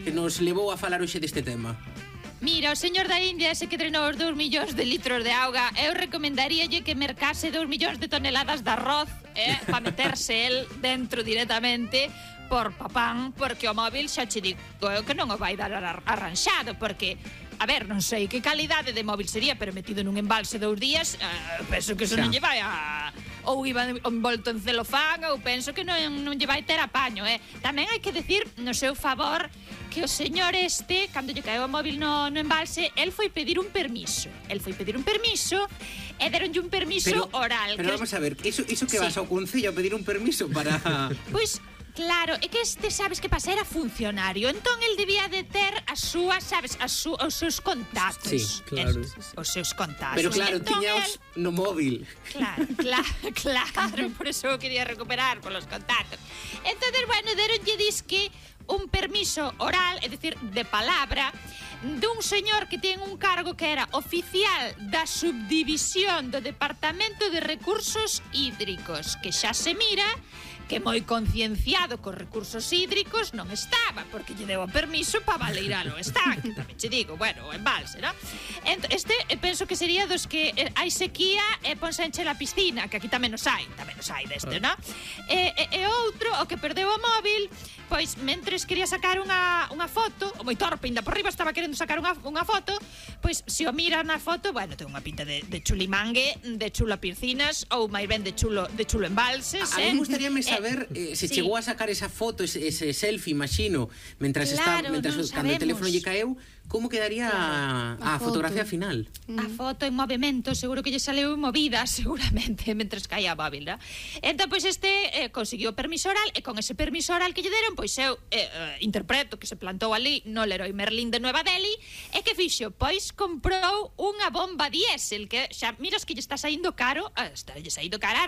que nos levou a falar hoxe deste tema? Mira, o señor da India, ese que drenou os 2 millóns de litros de auga, eu recomendaríalle que mercase 2 millóns de toneladas de arroz, para meterse el dentro directamente por papán, porque o móvil xa che digo que non o vai dar arranxado, porque a ver, non sei que calidade de móvil sería, pero metido nun embalse 2 días, penso que eso non lle vai a... ou iba envolto en celofán, ou penso que non lle vai ter apaño, Tamén hai que decir, no seu favor, que o señor cando lle caeu o móvil no embalse, el foi pedir un permiso. E deronlle un permiso oral. Pero vamos a ver, iso que vas ao concello a pedir un permiso para... Pois... Claro, é que sabes que pasa, era funcionario, entón el debía de ter as súas, sabes, os seus contactos. Sí, claro. Os seus contactos. Pero claro, entón, tiñaos no móvil. Claro, por eso quería recuperar polos contactos. Entonces, bueno, deronlle disque un permiso oral, é dicir, de palabra, dun señor que ten un cargo que era oficial da subdivisión do Departamento de Recursos Hídricos, que xa se mira que moi concienciado cos recursos hídricos non estaba, porque lle deu o permiso para baleirar o estanque, tamén che digo, bueno, o embalse, non? Penso que sería dos que hai sequía e ponse a encher a piscina, que aquí tamén nos hai deste, non? E outro, o que perdeu o móvil, pois, mentres quería sacar unha foto, o moi torpe, ainda por riba estaba querendo sacar unha foto, pois, se o mira na foto, bueno, ten unha pinta de chulimangue, de chulo piscinas, ou máis ben de chulo embalses, A mí me gustaríame saber se chegou a sacar esa foto, ese selfie, imagino, mentras cando o teléfono lle caeu, como quedaría a fotografía final? A foto en movimento, seguro que lle saleu movida, seguramente, mentres caía a móvil, non? Entón, pois, conseguiu o permiso oral, e con ese permiso oral que lle deron, pois eu interpreto que se plantou ali no Leroy Merlin de Nueva Delhi, e que fixo? Pois comprou unha bomba diésel, que xa, miras que lle está saindo caro, a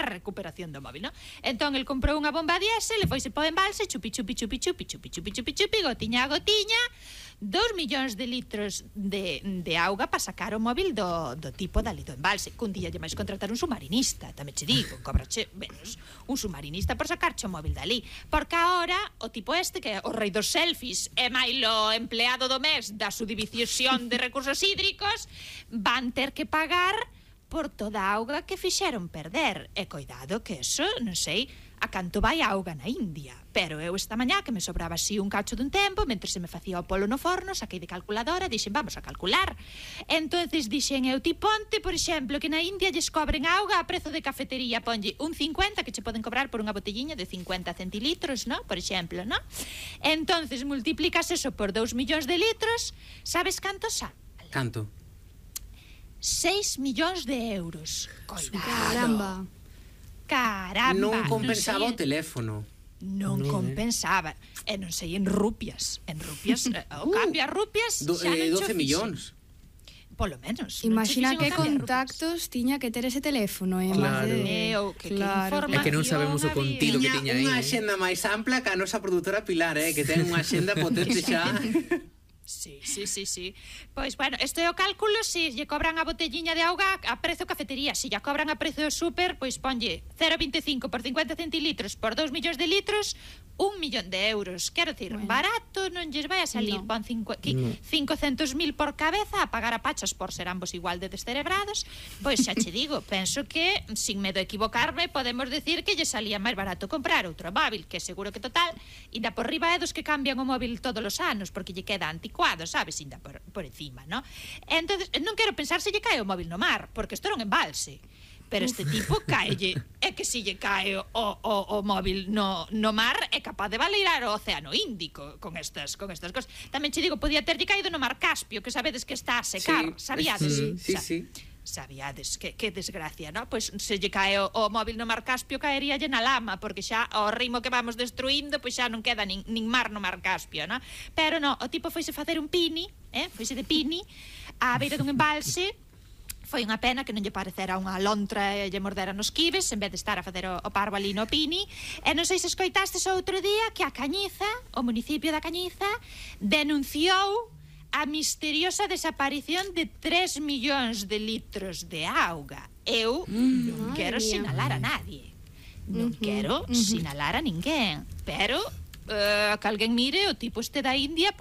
recuperación do móvil, non? Entón, el comprou unha bomba diésel, e foise po embalse, chupi, gotiña a gotiña, 2 millóns de litros de auga para sacar o móvil do tipo dali do embalse. Cun día lle máis contratar un submarinista, tamén che digo, cobrache menos un submarinista por sacarche o móvil dali, porque agora o tipo que é o rei dos selfies e mailo empleado do mes da subdivisión de recursos hídricos, van ter que pagar por toda a auga que fixeron perder. E coidado que eso, non sei a canto vai a auga na India, pero eu esta mañá que me sobraba así un cacho dun tempo, mentre se me facía o polo no forno, saquei de calculadora, dixen, vamos a calcular. Entonces dixen eu, ti ponte, por exemplo, que na India lles cobren auga a prezo de cafetería, ponlle un 50 que che poden cobrar por unha botelliña de 50 centilitros, ¿no? Por exemplo, ¿no? Entonces multiplicas eso por 2 millóns de litros, sabes canto sale? Canto? 6 millóns de euros. Caramba. Non compensaba o teléfono. Non compensaba. E non sei, en rupias. O cambio a rupias xa non 12 millóns. Polo menos. Imagina que contactos tiña que ter ese teléfono, Claro. É que non sabemos o contido que tiña aí. Unha axenda máis ampla que a nosa produtora Pilar, que ten unha axenda potente xa. Sí. Pois, bueno, este é o cálculo, se lle cobran a botelliña de auga a prezo cafetería, se lle cobran a prezo súper, pois ponlle 0,25 por 50 centilitros por 2 millóns de litros, 1 millón de euros. Quero dicir, barato non lles vai a salir, pon 500.000 por cabeza, a pagar a pachas por ser ambos igual de descerebrados. Pois xa che digo, penso que, sin medo a equivocarme, podemos decir que lle salía máis barato comprar outro móvil, que seguro que total, inda por riba é dos que cambian o móvil todos os anos, porque lle queda anticuado, sabes, inda por encima, ¿no? Entonces, non quero pensar se lle cae o móvil no mar, porque isto era un embalse. Pero este tipo caelle, é que se lle cae o móvil no mar, é capaz de baleirar o océano Índico con estas cosas. Tamén che digo, podía terlle caído no mar Caspio, que sabedes que está a secar, sabíades? Sí. Sabíades, que desgracia, ¿no? Pois se lle cae o móvil no mar Caspio, caeríalle na lama, porque xa ao ritmo que vamos destruindo, pois xa non queda nin mar no mar Caspio, ¿no? Pero no, o tipo foise facer un pini, foise de pini á beira dun embalse. Foi unha pena que non lle parecera unha lontra e lle mordera nos quibes, en vez de estar a facer o parvo ali no pini. E non sei se escoitastes outro día que a Cañiza, o municipio da Cañiza, denunciou a misteriosa desaparición de 3 millóns de litros de auga. Eu non quero sinalar a nadie. Non quero sinalar a ninguén. Pero que alguén mire o tipo este da India,